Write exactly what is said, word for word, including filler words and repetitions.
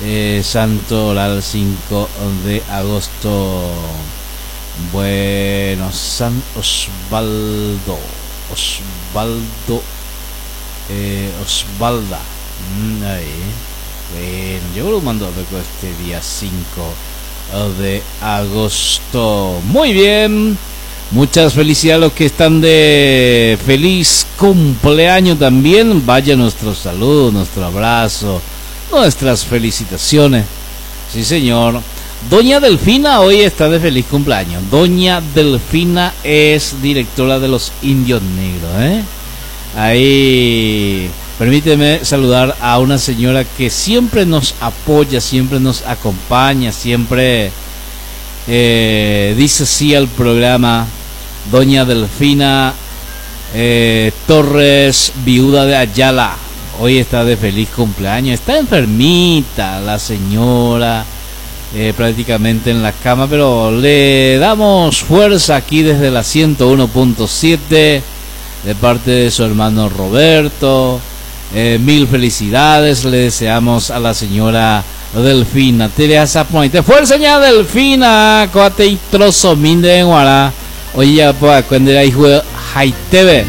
Eh, Santo Oral cinco de agosto. Bueno, San Osvaldo. Osvaldo. Eh, Osvalda. Mm, ahí. Bueno, yo lo mando a ver este día cinco de agosto. Muy bien. Muchas felicidades a los que están de feliz cumpleaños también. Vaya nuestro saludo, nuestro abrazo, nuestras felicitaciones. Sí, señor. Doña Delfina hoy está de feliz cumpleaños. Doña Delfina es directora de los Indios Negros, ¿eh? Ahí, permíteme saludar a una señora que siempre nos apoya, siempre nos acompaña, siempre eh, dice sí al programa. Doña Delfina eh, Torres, viuda de Ayala. Hoy está de feliz cumpleaños. Está enfermita la señora, eh, prácticamente en la cama, pero le damos fuerza aquí desde la ciento uno punto siete de parte de su hermano Roberto. Eh, mil felicidades le deseamos a la señora Delfina. Teresa Pointe. Fuerza, ña Delfina. Coate y trozo minde en Guará. Oye, ya puedo cuando era hijo de Jaitebe.